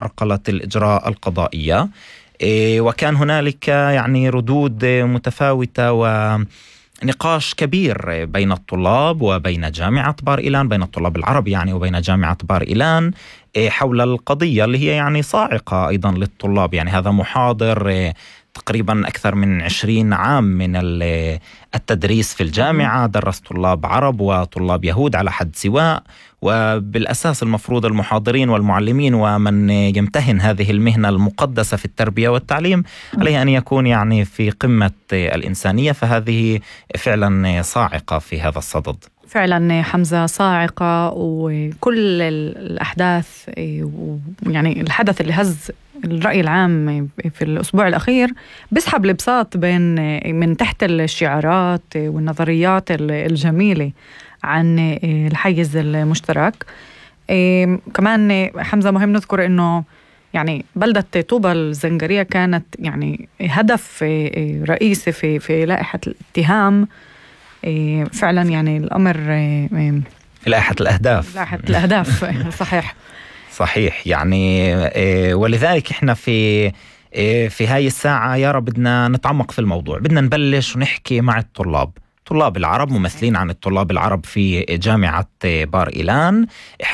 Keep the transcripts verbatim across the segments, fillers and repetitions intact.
عرقلة الإجراء القضائية، وكان هنالك يعني ردود متفاوتة ونقاش كبير بين الطلاب وبين جامعة بار إيلان، بين الطلاب العرب يعني وبين جامعة بار إيلان حول القضية اللي هي يعني صاعقة أيضا للطلاب. يعني هذا محاضر تقريبا أكثر من عشرين عام من التدريس في الجامعة، درس طلاب عرب وطلاب يهود على حد سواء، وبالأساس المفروض المحاضرين والمعلمين ومن يمتهن هذه المهنة المقدسة في التربية والتعليم عليه أن يكون يعني في قمة الإنسانية، فهذه فعلا صاعقة في هذا الصدد. فعلا حمزة صاعقة، وكل الأحداث يعني الحدث اللي هز الرأي العام في الأسبوع الأخير بيسحب البساط بين من تحت الشعارات والنظريات الجميلة عن الحيز المشترك. كمان حمزة مهم نذكر إنه يعني بلدة طوبى الزنجرية كانت يعني هدف رئيسي في في لائحة الاتهام. فعلا يعني الأمر لائحة الأهداف لائحة الأهداف صحيح صحيح يعني. ولذلك إحنا في في هاي الساعة يا رب بدنا نتعمق في الموضوع، بدنا نبلش ونحكي مع الطلاب طلاب العرب، ممثلين عن الطلاب العرب في جامعة بار إيلان،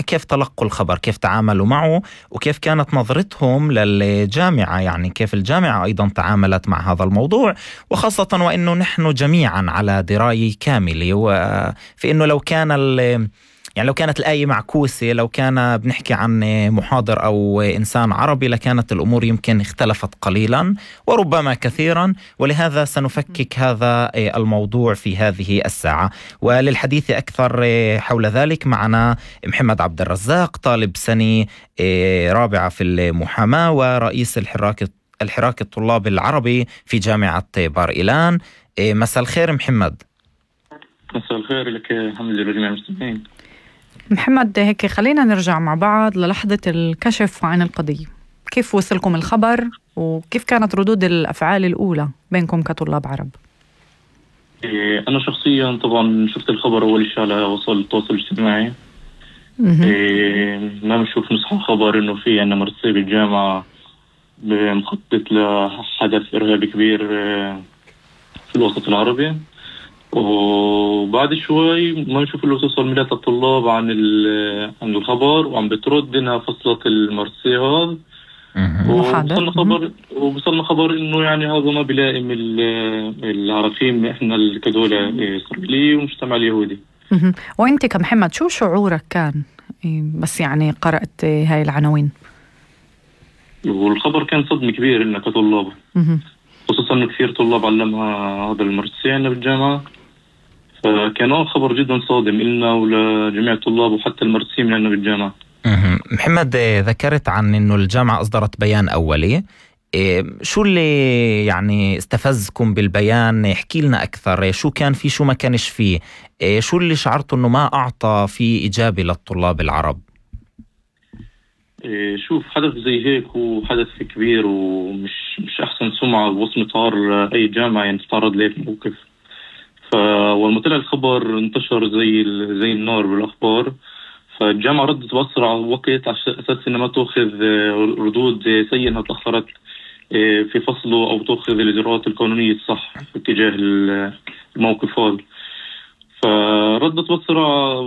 كيف تلقوا الخبر، كيف تعاملوا معه، وكيف كانت نظرتهم للجامعة، يعني كيف الجامعة أيضا تعاملت مع هذا الموضوع، وخاصة وإنه نحن جميعا على دراية كاملة وفي إنه لو كان يعني لو كانت الآية معكوسة، لو كان بنحكي عن محاضر أو إنسان عربي لكانت الأمور يمكن اختلفت قليلا وربما كثيرا. ولهذا سنفكك هذا الموضوع في هذه الساعة. وللحديث أكثر حول ذلك معنا محمد عبد الرزاق، طالب سنة رابعة في المحاماة ورئيس الحراك الحراك الطلاب العربي في جامعة بار إيلان. مساء الخير محمد. مساء الخير لك حمزة لجميع المستمعين. محمد، هيك خلينا نرجع مع بعض للحظة الكشف عن القضية. كيف وصلكم الخبر وكيف كانت ردود الأفعال الأولى بينكم كطلاب عرب؟ إيه أنا شخصيا طبعا شفت الخبر أول شيء على وسائل التواصل الاجتماعي. إيه ما بنشوف نصحى خبر إنه في عنا مرسي بالجامعة مخطط لحدث إرهابي كبير في الوسط العربي، وبعد شوي ما نشوف اللي توصل ملايات الطلاب عن عن الخبر وعم بترد انها فصلت المرسي هذا، وصلنا خبر وصلنا خبر انه يعني هذا ما بيلائم العراقيم احنا كدولة اسرائيلية ومجتمع اليهودي. وانت كمحمد شو شعورك كان بس يعني قرأت هاي العناوين؟ والخبر كان صدمة كبير لنا كطلاب، خصوصا انه كثير طلاب علمها هذا المرسي عندنا بالجامعة، فكان خبر جدا صادم لنا ولجميع الطلاب وحتى المرسيين عندنا بالجامعة. محمد، ذكرت عن انه الجامعة اصدرت بيان اولي، شو اللي يعني استفزكم بالبيان؟ احكي لنا اكثر، شو كان فيه شو ما كانش فيه، شو اللي شعرتوا انه ما اعطى فيه ايجابي للطلاب العرب؟ شوف، حدث زي هيك هو حدث كبير ومش مش احسن سمعة ووصمة عار لاي جامعة يعني تتعرض ليه موقف. فلما طلع الخبر انتشر زي زي النار بالاخبار، فالجامعة ردت بأسرع وقت على اساس انها ما تاخذ ردود سيئة انها تاخرت في فصله او تاخذ الاجراءات القانونية الصح اتجاه الموقف هذا. فردت بسرعة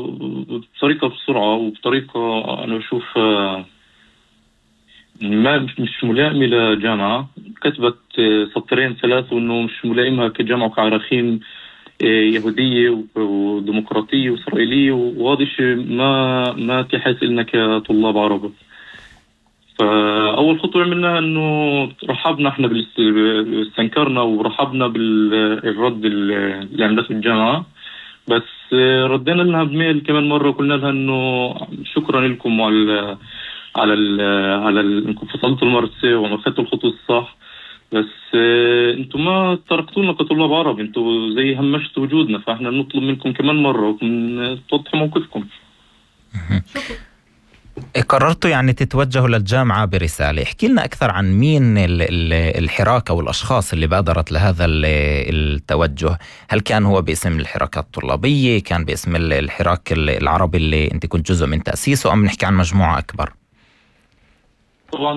بطريقة بسرعة وبطريقة أنا بشوف ما مش ملائمة لجامعة، كتبت سطرين ثلاثة وإنه مش ملائمة كجامعة وكعراقيم يهودية وديمقراطية وإسرائيلية، وهذا الشيء ما ما تحس لنا كطلاب عرب. فأول خطوة عملناها إنه رحبنا إحنا بالاستنكرنا ورحبنا بالرد اللي عملته الجامعة، بس ردينا لها بميل كمان مرة وقلنا لها إنه شكرا لكم على على ال على انكم فصلتوا المرسي وما اخذتوا الخطوة الصح، بس انتم ما تركتونا كطلاب عرب، انتم زي همشتوا وجودنا، فاحنا نطلب منكم كمان مرة توضحوا موقفكم. قررتوا يعني تتوجهوا للجامعة برسالة، احكي لنا أكثر عن مين الحراك أو الأشخاص اللي بادرت لهذا التوجه. هل كان هو باسم الحراكات الطلابية، كان باسم الحراك العربي اللي انت كنت جزء من تأسيسه، أم نحكي عن مجموعة أكبر؟ طبعا